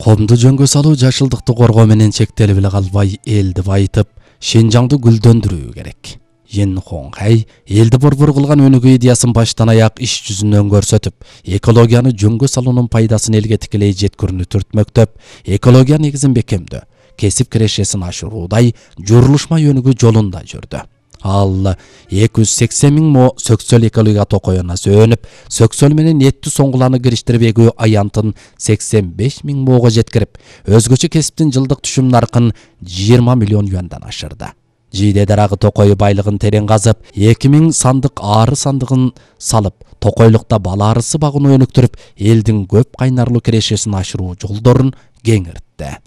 Комду жөнгө салуу жашылдыкты коргоо менен чектелип эле калбай, элди байытып, Шенжаңды гүлдөндүрүү керек. Ен Хоңхай элди борбор кылган өнүгүү идеясын баштан аяк иш жүзүнөн көрсөтүп, экологияны жөнгө салуунун пайдасын элге тикелей жеткирүүнү түртмөктөп, экология негизин бекемдөө, кесип кирешесин ашыруудай журулушма өнүгүү жолунда жүрдү. Ал 280 000 мо сөксөл экология токоюна сөөнүп, сөксөл менен эттүү соңгуланы кириштирип эгүү аянтын 85 000 моого жеткирип, өзгөчө кесиптин жылдык түшүм наркын 20 миллион юандан ашырды. Жийде дарагы токой байлыгын терең казып, 2000 сандык ары сандыгын салып, токойлукта бала арысы багууну өнүктүрүп, элдин көп кайнарлуу кирешесин ашыруу жолдорун кеңиртти.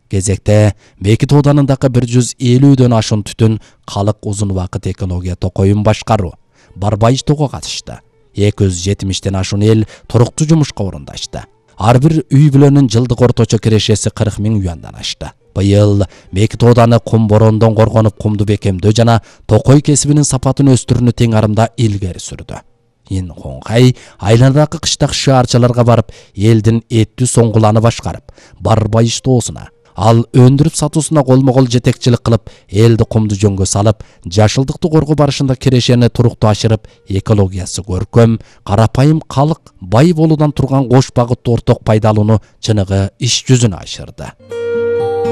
Кезекте Бекит Ооданындагы 150дөн ашуун түтүн калык узун убакыт экология токоюн башкаруу, барбай иштоого катышты. 270ден ашуун эл туруктуу жумушка орундашты. Ар бир үй бүлөнүн жылдык орточо кирешеси 40 000 юандан ашты. Быйыл Бекит Ооданы кум борондон коргонуп, кумду бекемдөө жана токой кесибинин сапатын өстүрүүнү тең арымда илгери сүрдү. Ен Хоңхай айланадагы кыштак шаарчаларга барып, элдин эттүү соңгуланы башкарып, барбай иштоосуна, ал өндүрүп сатуусуна колмо-кол жетекчилик кылып, элди кумду жөнгө салып, жашылдыкты коргоо барышында кирешени туруктуу ашырып, экологиясы көркөм, карапайым калык бай болуудан турган кош багыттуу орток пайдалууну чыныгы иш жүзүнө ашырды.